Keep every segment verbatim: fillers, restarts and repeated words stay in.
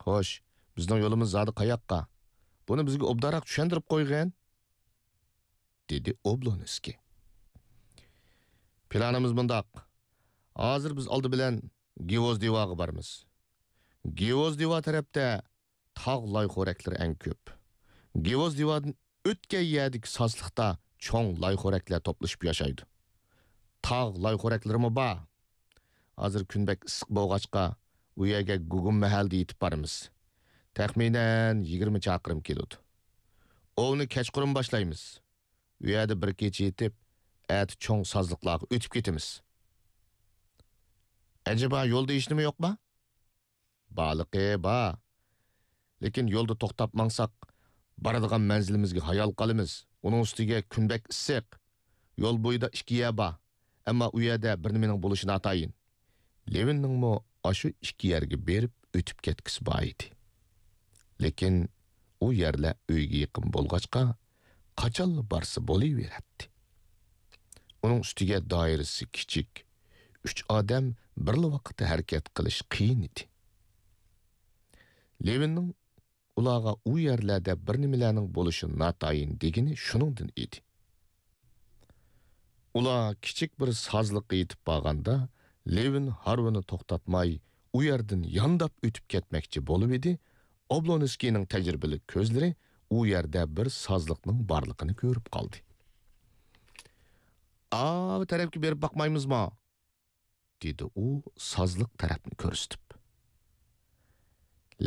خوش، بىزنىڭ يولىمىز زادى قاياققا؟ بۇنى بىزگە ئوبدانراق چۈشەندۈرۈپ قويغىن، دېدى ئوبلونسكىي. پىلانىمىز مۇنداق. ھازىر بىز ئالدى بىلەن گىۋوزدىۋاغا بارىمىز. گىۋوزدىۋا تەرەپتە تاغ لايخورەكلىرى ئەڭ كۆپ. گىۋوزدىۋادىن ئۆتكەن يەردىكى سازلىقتا چوڭ لايخورەكلەر توپلىشىپ ياشايدۇ. تاغ لايخورەكلىرىمۇ بار. ھازىر كۈن بەك ئىسسىق بولغاچقا، ئۇ يەرگە گۇگۇم مەھەلدە يېتىپ بارىمىز. تەخمىنەن يىگىرمە چاقىرىم كېلىدۇ. ئوۋنى كەچقۇرۇن باشلايمىز. ئۇ يەردە بىر كېچە يېتىپ، ئەتە چوڭ سازلىقلارغا ئۆتۈپ كېتىمىز. ئەجەبا، يولدا ھېچنېمە يوقما؟ بارلىقى بار. لېكىن يولدا توختاپ ماڭساق، بارىدىغان مەنزىلىمىزگە ھايال قالىمىز. ئۇنىڭ ئۈستىگە كۈن بەك ئىسسىق. يول بويىدا ئىككى يەر بار. ئەمما ئۇ يەردە بىر نېمىنىڭ بولۇشى ناتايىن. لېۋىننىڭمۇ ئاشۇ ئىككى يەرگە بېرىپ ئۆتۈپ كەتكۈسى بار ئىدى. لېكىن ئۇ يەرلەر ئۆيگە يېقىن بولغاچقا، قاچانلا بارسا بولۇۋېرەتتى. ئۇنىڭ ئۈستىگە دائىرىسى كىچىك، ئۈچ ئادەم بىرلا ۋاقىتتا ھەرىكەت قىلىش قىيىن ئىدى. لېۋىننىڭ ئۇلارغا ئۇ يەرلەردە بىر نېمىلەرنىڭ بولۇشى ناتايىن دېگىنى شۇنىڭدىن ئىدى. ئۇلار كىچىك بىر سازلىققا يېتىپ بارغاندا، لېۋىن ھارۋىنى توختاتماي، ئۇ يەردىن يانداپ ئۆتۈپ كەتمەكچى بولۇۋىدى، ئوبلونسكىينىڭ تەجرىبىلىك كۆزلىرى ئۇ يەردە بىر سازلىقنىڭ بارلىقىنى كۆرۈپ قالدى. ئاۋۇ تەرەپكە بېرىپ باقمايمىزمۇ؟ دېدى ئۇ سازلىق تەرەپنى كۆرسىتىپ.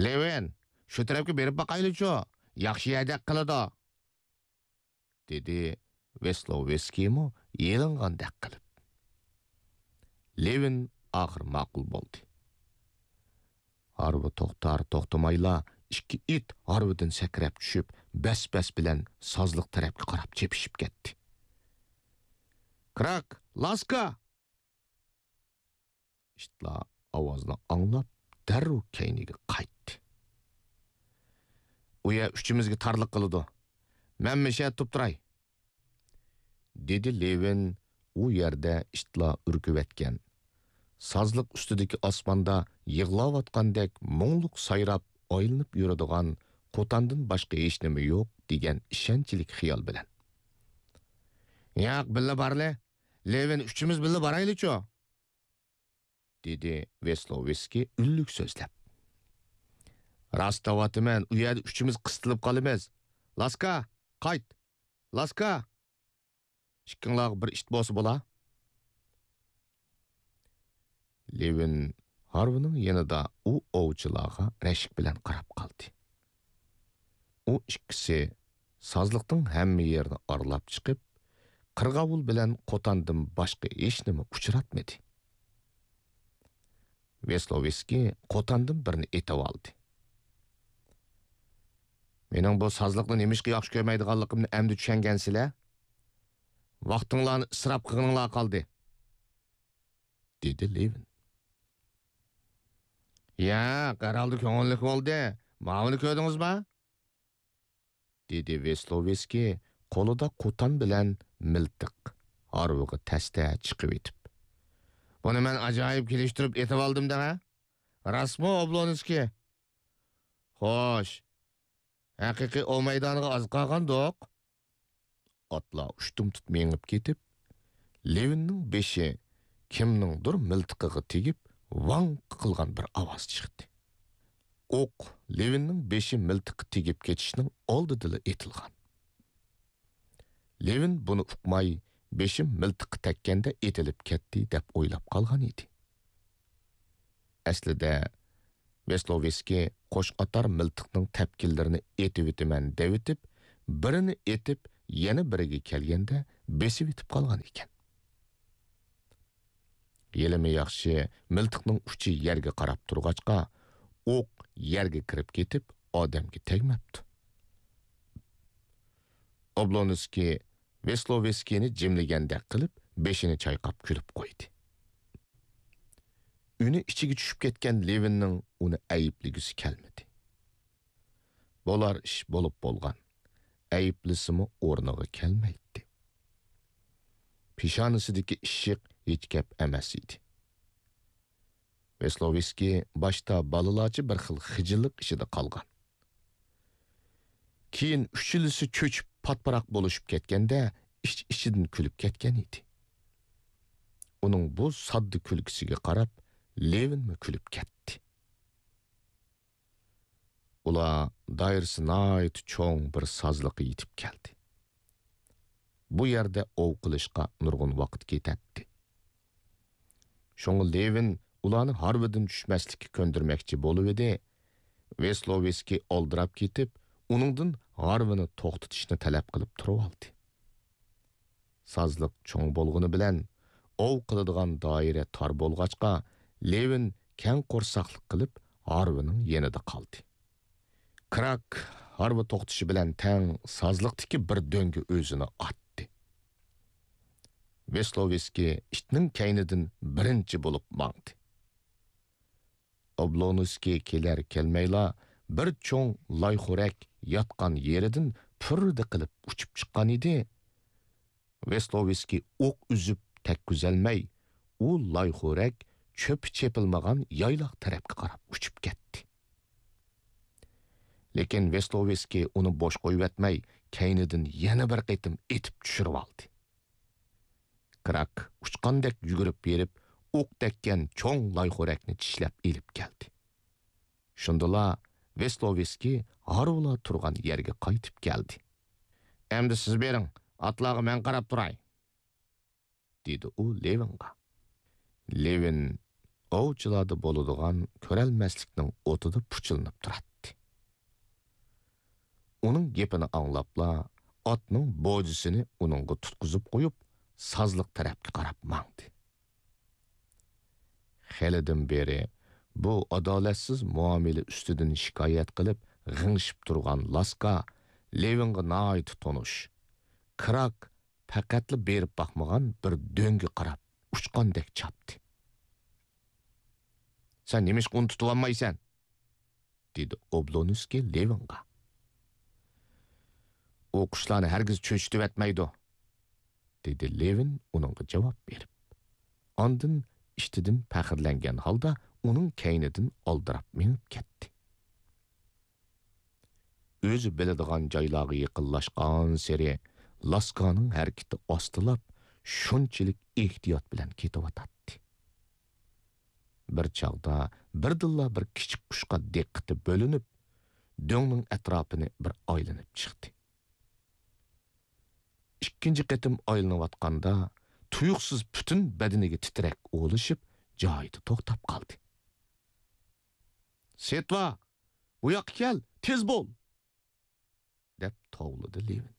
لېۋىن، شۇ تەرەپكە بېرىپ باقايلىچۇ، ياخشى يەردەك قىلىدۇ، دېدى ۋېسلوۋسكىيمۇ يېلىنغاندەك قىلىپ. لېۋىن ئاخىر ماقۇل بولدى. ھارۋا توختار توختىمايلا ئىككى ئىت ھارۋىدىن سەكرەپ چۈشۈپ، بەس-بەس بىلەن سازلىق تەرەپكە قاراپ چېپىشىپ كەتتى. كراك، لاسكا! ئىتلار ئاۋازنى ئاڭلاپ، دەررۇ كەينىگە قايتتى. ئۇ يەر ئۈچىمىزگە تارلىق قىلىدۇ. مەن مىشەدە تۇرۇپ تۇراي، دېدى لېۋىن ئۇ يەردە ئىتلار ئۈركۈۋەتكەن، سازلىق ئۈستىدىكى ئاسماندا يىغلاۋاتقاندەك مۇڭلۇق سايراپ ئايلىنىپ يۈرىدىغان قوتاندىن باشقا ھېچنېمە يوق دېگەن ئىشەنچلىك خىيال بىلەن. ياق، بىللە بارلى. لېۋىن، ئۈچىمىز بىللە بارايلىچۇ؟ دېدى ۋېسلوۋسكىي ئۈنلۈك سۆزلەپ. راست دەۋاتىمەن، ئۇ يەردە ئۈچىمىز قىستىلىپ قالىمىز. لاسكا، قايت! لاسكا! ئىككىڭلارغا بىر ئىت بولسا بولا. لېۋىن ھارۋىنىڭ يېنىدا ئۇ ئوۋچىلارغا رەشك بىلەن قاراپ قالدى. ئۇ ئىككىسى سازلىقنىڭ ھەممە يېرىنى ئارىلاپ چىقىپ، قىرغاۋۇل بىلەن قوتاندىن باشقا ھېچنېمە ئۇچراتمىدى. ۋېسلوۋسكىي قوتاندىن بىرنى ئېتىۋالدى. مېنىڭ بۇ سازلىقنى نېمىشقا ياخشى كۆرمەيدىغانلىقىمنى ئەمدى چۈشەنگەنسىلەر؟ ۋاقتىڭلارنى ئىسراپ قىلغىنىڭلار قالدى، دېدى لېۋىن. ياق، ھەرھالدا كۆڭۈللۈك بولدى. ماۋۇنى كۆردىڭىزما؟ دېدى ۋېسلوۋسكىي قولىدا قوتان بىلەن مىلتىق، ھارۋىغا تەستە چىقىۋېتىپ. بۇنى مەن ئاجايىپ كېلىشتۈرۈپ ئېتىۋالدىم دەڭە. راستمۇ، ئوبلونسكىي؟ خوش، ھەقىقىي ئوۋ مەيدانىغا ئاز قالغاندۇق. ئاتلار ئۇشتۇمتۇت مېڭىپ كېتىپ، لېۋىننىڭ بېشى كىمنىڭدۇر مىلتىقىغا تېگىپ، ۋاڭ قىلغان بىر ئاۋاز چىقتى. ئوق لېۋىننىڭ بېشى مىلتىققا تېگىپ كېتىشنىڭ ئالدىدىلا ئېتىلغان. لېۋىن بۇنى ئۇقماي، بېشىم مىلتىققا تەگكەندە ئېتىلىپ كەتتى دەپ ئويلاپ قالغان ئىدى. ئەسلىدە ۋېسلوۋسكىي قوش قاتار مىلتىقنىڭ تەپكىلىرىنى ئېتىۋېتىمەن دەۋېتىپ، بىرىنى ئېتىپ، يەنە بىرىگە كەلگەندە بېسىۋېتىپ قالغان ئىكەن. ھېلىمۇ ياخشى، مىلتىقنىڭ ئۇچى يەرگە قاراپ تۇرغاچقا، ئوق يەرگە كىرىپ كېتىپ، ئادەمگە تەگمەپتۇ. ئوبلونسكىي ۋېسلوۋسكىينى جىملىگەندەك قىلىپ، بېشىنى چايقاپ كۈلۈپ قويدى. ئۈنى ئىچىگە چۈشۈپ كەتكەن لېۋىننىڭ ئۇنى ئەيىبلىگۈسى كەلمىدى. بولار ئىش بولۇپ بولغان. ئەيىبلىسىمۇ ئورنىغا كەلمەيتتى. پېشانىسىدىكى ئىششىق ھېچ گەپ ئەمەس ئىدى. ۋېسلوۋېسكىي باشتا بالىلارچە بىر خىل خىجىللىق ئىچىدە قالغان. كېيىن ئۈچىلىسى چۆچۈپ پاتپىراق بولۇشۇپ كەتكەندە، ئىچ-ئىچىدىن كۈلۈپ كەتكەن ئىدى. ئۇنىڭ بۇ ساددا كۈلكىسىگە قاراپ، لېۋىنمۇ كۈلۈپ كەتتى. ئۇلار دائىرىسى ناھايىتى چوڭ بىر سازلىققا يېتىپ كەلدى. بۇ يەردە ئوۋ قىلىشقا نۇرغۇن ۋاقىت كېتەتتى. شۇڭا لېۋىن ئۇلارنى ھارۋىدىن چۈشمەسلىككە كۆندۈرمەكچى بولۇۋىدى، ۋېسلوۋېسكىي ئالدىراپ كېتىپ، ئۇنىڭدىن ھارۋىنى توختىتىشنى تەلەپ قىلىپ تۇرۇۋالدى. سازلىق چوڭ بولغىنى بىلەن، ئوۋ قىلىدىغان دائىرە تار بولغاچقا، لېۋىن كەڭ قورساقلىق قىلىپ، ھارۋىنىڭ يېنىدا قالدى. كراك ھارۋا توختىشى بىلەن تەڭ سازلىقتىكى بىر دۆڭگە ئۆزىنى ئاتتى. ۋېسلوۋېسكىي ئىتنىڭ كەينىدىن بىرىنچى بولۇپ ماڭدى. ئوبلونسكىي كېلەر-كەلمەيلا بىر چوڭ لايخورەك ياتقان يېرىدىن پۈررىدە قىلىپ ئۇچۇپ چىققان ئىدى. ۋېسلوۋېسكىي ئوق ئۈزۈپ تەگكۈزەلمەي، ئۇ لايخورەك چۆپى چېپىلمىغان يايلاق تەرەپكە قاراپ ئۇچۇپ كەتتى. لېكىن ۋېسلوۋېسكىي ئۇنى بوش قويۇۋەتمەي، كەينىدىن يەنە بىر قېتىم ئېتىپ چۈشۈرۈۋالدى. كراك ئۇچقاندەك يۈگۈرۈپ بېرىپ، ئوق تەگكەن چوڭ لايخورەكنى چىشلەپ ئېلىپ كەلدى. شۇندىلا ۋېسلوۋېسكىي ھارۋىلار تۇرغان يەرگە قايتىپ كەلدى. «ئەمدى سىز بېرىڭ، ئاتلارغا مەن قاراپ تۇراي.» دېدى ئۇ لېۋىنغا. لېۋىن ئوۋچىلاردا بولىدىغان كۆرەلمەسلىكنىڭ ئوتىدا پۇچىلىنىپ تۇراتتى. ئۇنىڭ گېپىنى ئاڭلاپلا، ئاتنىڭ بوجىسىنى ئۇنىڭغا تۇتقۇزۇپ قويۇپ، سازلىق تەرەپكە قاراپ ماڭدى. خېلىدىن بېرى بۇ ئادالەتسىز مۇئامىلە ئۈستىدىن شىكايەت قىلىپ غىڭشىپ تۇرغان لاسكا لېۋىنغا ناھايىتى تونۇش. كراك پەقەتلا بېرىپ باقمىغان بىر دۆڭگە قاراپ ئۇچقاندەك چاپتى. «سەن نېمىشقا ئۇنى تۇتۇۋالمايسەن؟» دېدى ئوبلونسكىي لېۋىنغا. «ئۇ قۇشلارنى ھەرگىز چۆچۈتۈۋەتمەيدۇ.» دېدى لېۋىن ئۇنىڭغا جاۋاب بېرىپ. ئاندىن ئىشتىدىن پەخىرلەنگەن ھالدا ئۇنىڭ كەينىدىن ئالدىراپ مېڭىپ كەتتى. ئۆزى بىلىدىغان جايلارغا يېقىنلاشقانسېرى لاسكانىڭ ھەرىكىتى ئاستىلاپ، شۇنچىلىك ئېھتىيات بىلەن كېتىۋاتاتتى. بىر چاغدا بىردىنلا بىر كىچىك قۇشقا دىققىتى بۆلۈنۈپ، دۆڭنىڭ ئەتراپىنى بىر ئايلىنىپ چىقتى. ئىككىنچى قېتىم ئايلىنىۋاتقاندا، تۇيۇقسىز پۈتۈن بەدىنىگە تىترەك ئۇلىشىپ، جايىدا توختاپ قالدى. «سېتۋا، بۇ ياققا كەل، تېز بول!» دەپ توۋلىدى لېۋىن.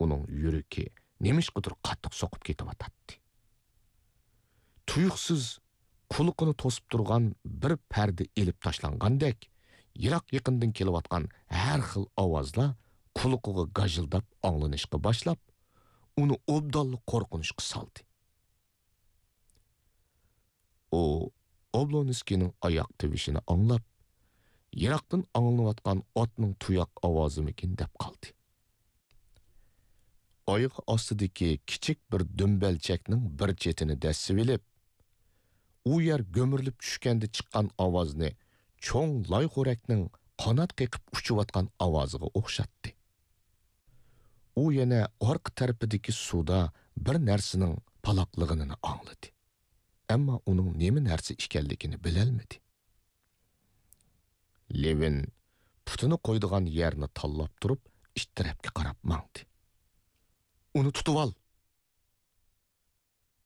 ئۇنىڭ يۈرىكى نېمىشقىدۇر قاتتىق سوقۇپ كېتىۋاتاتتى. تۇيۇقسىز قۇلىقىنى توسۇپ تۇرغان بىر پەردە ئېلىپ تاشلانغاندەك، يىراق يېقىندىن كېلىۋاتقان ھەر خىل ئاۋازلار قۇلىقىغا گاژىلداپ ئاڭلىنىشقا باشلاپ، ئۇنى ئوبدانلا قورقۇنچقا سالدى. ئۇ ئوبلونسكىينىڭ ئاياق تىۋىشىنى ئاڭلاپ، يىراقتىن ئاڭلىنىۋاتقان ئاتنىڭ تۇياق ئاۋازىمىكىن دەپ قالدى. ئايىغى ئاستىدىكى كىچىك بىر دۈمبەلچەكنىڭ بىر چېتىنى دەسسىۋېلىپ، ئۇ يەر گۈمۈرۈلۈپ چۈشكەندە چىققان ئاۋازنى چوڭ لايخورەكنىڭ قانات قېقىپ ئۇچۇۋاتقان ئاۋازىغا ئوخشاتتى. ئۇ يەنە ئارقا تەرىپىدىكى سۇدا بىر نەرسىنىڭ پالاقلىغىنىنى ئاڭلىدى. ئەمما ئۇنىڭ نېمە نەرسە ئىكەنلىكىنى بىلەلمىدى. لېۋىن پۇتىنى قويىدىغان يەرنى تاللاپ تۇرۇپ، ئىت تەرەپكە قاراپ ماڭدى. «ئۇنى تۇتۇۋال!»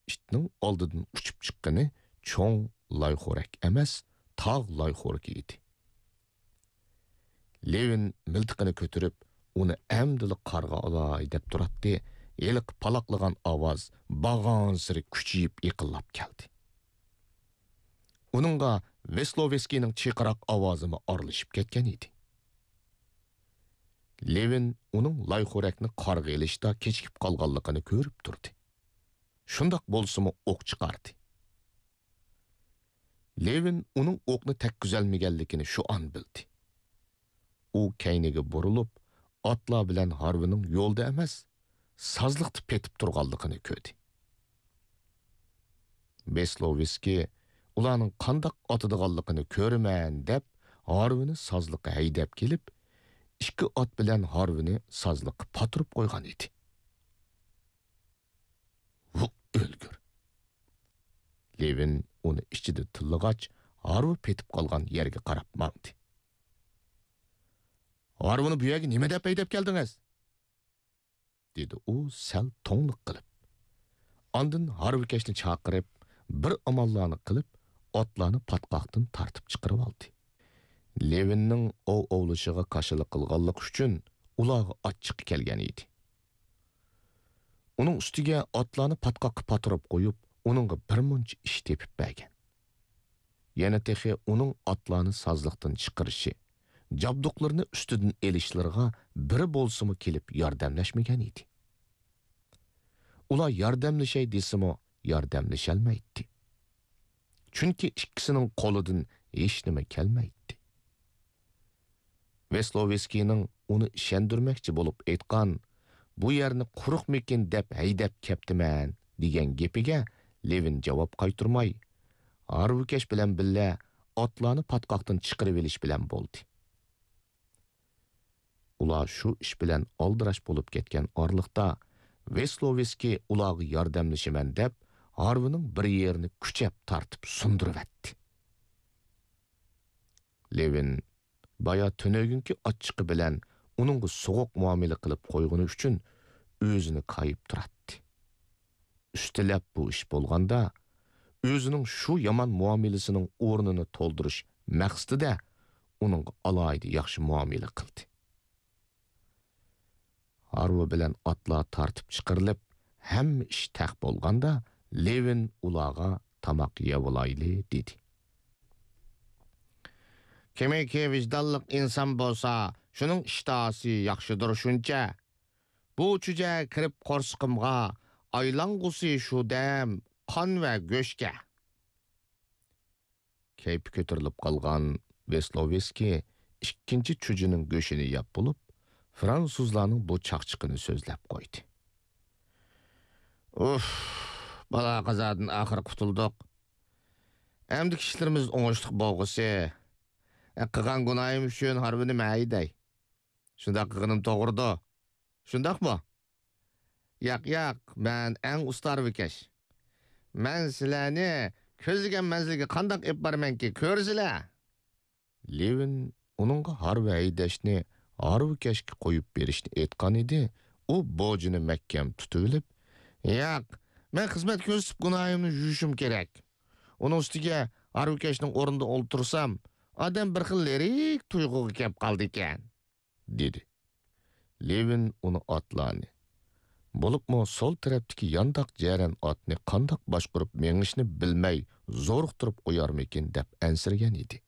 ئىتنىڭ ئالدىدىن ئۇچۇپ چىققىنى چوڭ لايخورەك ئەمەس، تاغ لايخورىكى ئىدى. لېۋىن مىلتىقىنى كۆتۈرۈپ، ئۇنى ئەمدىلا قارغا ئالاي دەپ تۇراتتى، ھېلىقى پالاقلىغان ئاۋاز بارغانسېرى كۈچىيىپ يېقىنلاپ كەلدى. ئۇنىڭغا ۋېسلوۋېسكىينىڭ چىرقىراق ئاۋازىمۇ ئارىلىشىپ كەتكەن ئىدى. لېۋىن ئۇنىڭ لايخورەكنى قارغا ئېلىشتا كېچىكىپ قالغانلىقىنى كۆرۈپ تۇردى. شۇنداق بولسىمۇ ئوق چىقاردى. لېۋىن ئۇنىڭ ئوقنى تەگكۈزەلمىگەنلىكىنى شۇ ئان بىلدى. ئۇ كەينىگە بۇرۇلۇپ، ئاتلار بىلەن ھارۋىنىڭ يولدا ئەمەس، سازلىقتا پېتىپ تۇرغانلىقىنى كۆردى. ۋېسلوۋسكىي ئۇلارنىڭ قانداق ئاتىدىغانلىقىنى كۆرىمەن دەپ، ھارۋىنى سازلىققا ھەيدەپ كېلىپ، ئىككى ئات بىلەن ھارۋىنى سازلىققا پاتۇرۇپ قويغان ئىدى. ۋۇ ئۆلگۈر! لېۋىن ئۇنى ئىچىدە تىللىغاچ، ھارۋا پېتىپ قالغان يەرگە قاراپ ماڭدى. ھارۋىنى بۇ يەرگە نېمە دەپ ھەيدەپ كەلدىڭىز؟ دېدى ئۇ سەل توڭلۇق قىلىپ. ئاندىن ھارۋىكەشنى چاقىرىپ، بىر ئاماللارنى قىلىپ، ئاتلارنى پاتقاقتىن تارتىپ چىقىرىۋالدى. لېۋىننىڭ ئوۋ ئوۋلىشىغا كاشىلا قىلغانلىقى ئۈچۈن ئۇلارغا ئاچچىقى كەلگەن ئىدى. ئۇنىڭ ئۈستىگە ئاتلارنى پاتقاققا پاتۇرۇپ قويۇپ، ئۇنىڭغا بىرمۇنچە ئىش تېپىپ بەرگەن. يەنە تېخى ئۇنىڭ ئاتلارنى سازلىقتىن چىقىرىشى، جابدۇقلىرىنى ئۈستىدىن ئېلىشلىرىغا بىرى بولسىمۇ كېلىپ ياردەملەشمىگەن ئىدى. ئۇلار ياردەملىشەي دېسىمۇ ياردەملىشەلمەيتتى. چۈنكى ئىككىسىنىڭ قولىدىن ھېچنېمە كەلمەيتتى. ۋېسلوۋېسكىينىڭ ئۇنى ئىشەندۈرمەكچى بولۇپ ئېيتقان، «بۇ يەرنى قۇرۇقمىكىن دەپ ھەيدەپ كەپتىمەن» دېگەن گېپىگە لېۋىن جاۋاب قايتۇرماي، ھارۋىكەش بىلەن بىللە ئاتلارنى پاتقاقتىن چىقىرىۋېلىش بىلەن بولدى. ئۇلار شۇ ئىش بىلەن ئالدىراش بولۇپ كەتكەن ئارىلىقتا، ۋېسلوۋېسكىي ئۇلارغا ياردەملىشىمەن دەپ، ھارۋىنىڭ بىر يېرىنى كۈچەپ تارتىپ سۇندۇرۇۋەتتى. لېۋىن بايا تۈنۈگۈنكى ئاچچىقى بىلەن ئۇنىڭغا سوغۇق مۇئامىلە قىلىپ قويغىنى ئۈچۈن ئۆزىنى كايىپ تۇراتتى. ئۈستىلەپ بۇ ئىش بولغاندا، ئۆزىنىڭ شۇ يامان مۇئامىلىسىنىڭ ئورنىنى تولدۇرۇش مەقسىتىدە ئۇنىڭغا ئالاھىدە ياخشى مۇئامىلە قىلدى. ھارۋا بىلەن ئاتلار تارتىپ چىقىرىلىپ، ھەممە ئىش تەق بولغاندا، لېۋىن ئۇلارغا تاماق يەۋالايلى دېدى. كىمكى ۋىجدانلىق ئىنسان بولسا، شۇنىڭ ئىشتىھاسى ياخشىدۇر شۇنچە. بۇ چۈجە كىرىپ قورسىقىمغا، ئايلانغۇسى شۇ دەم قان ۋە گۆشكە. كەيپى كۆتۈرۈلۈپ قالغان ۋېسلوۋېسكىي ئىككىنچى چۈجىنىڭ گۆشىنى يەپ بولۇپ، فرانسۇزلارنىڭ بۇ چاقچىقىنى سۆزلەپ قويدى. ئۇف، بالا-قازادىن ئاخىر قۇتۇلدۇق. ئەمدىكى ئىشلىرىمىز ئوڭۇشلۇق بولغۇسى. قىلغان گۇناھىم ئۈچۈن ھارۋىنى مەن ھەيدەي. شۇنداق قىلغىنىم توغرىدۇ. شۇنداقمۇ؟ ياق، ياق، مەن ئەڭ ئۇستا ھارۋىكەش. مەن سىلەرنى كۆزلىگەن مەنزىلگە قانداق ئېلىپ بارىمەنكى، كۆرىسىلەر! لېۋىن ئۇنىڭغا ھارۋا ھەيدەشنى، ھارۋىكەشكە قويۇپ بېرىشنى ئېيتقان ئىدى، ئۇ بوجىنى مەھكەم تۇتۇۋېلىپ، ياق، مەن خىزمەت كۆرسىتىپ گۇناھىمنى يۇيۇشۇم كېرەك. ئۇنىڭ ئۈستىگە ھارۋىكەشنىڭ ئورنىدا ئولتۇرسام، ئادەم بىر خىل لىرىك تۇيغۇغا كەپ قالىدىكەن. دېدى. لېۋىن ئۇنى ئاتلارنى، بولۇپمۇ سول تەرەپتىكى يانداق جەرەن ئاتنى قانداق باشقۇرۇپ مېڭىشنى بىلمەي زورۇقتۇرۇپ قويارمىكىن دەپ ئەنسىرىگەن ئىدى.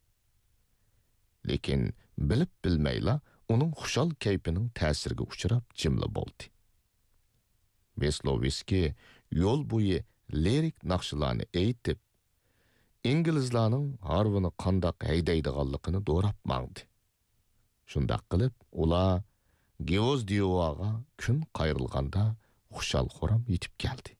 لېكىن بىلىپ بىلمەيلا ئۇنىڭ خۇشال كەيپىنىڭ تەسىرىگە ئۇچراپ جىملا بولدى. ۋېسلوۋېسكىي يول بويى لىرىك ناخشىلارنى ئېيتىپ، ئىنگلىزلارنىڭ ھارۋىنى قانداق ھەيدەيدىغانلىقىنى دوراپ ماڭدى. شۇنداق قىلىپ، ئۇلار گىۋوزدىيوۋاغا كۈن قايرىلغاندا خۇشال-خۇرام يېتىپ كەلدى.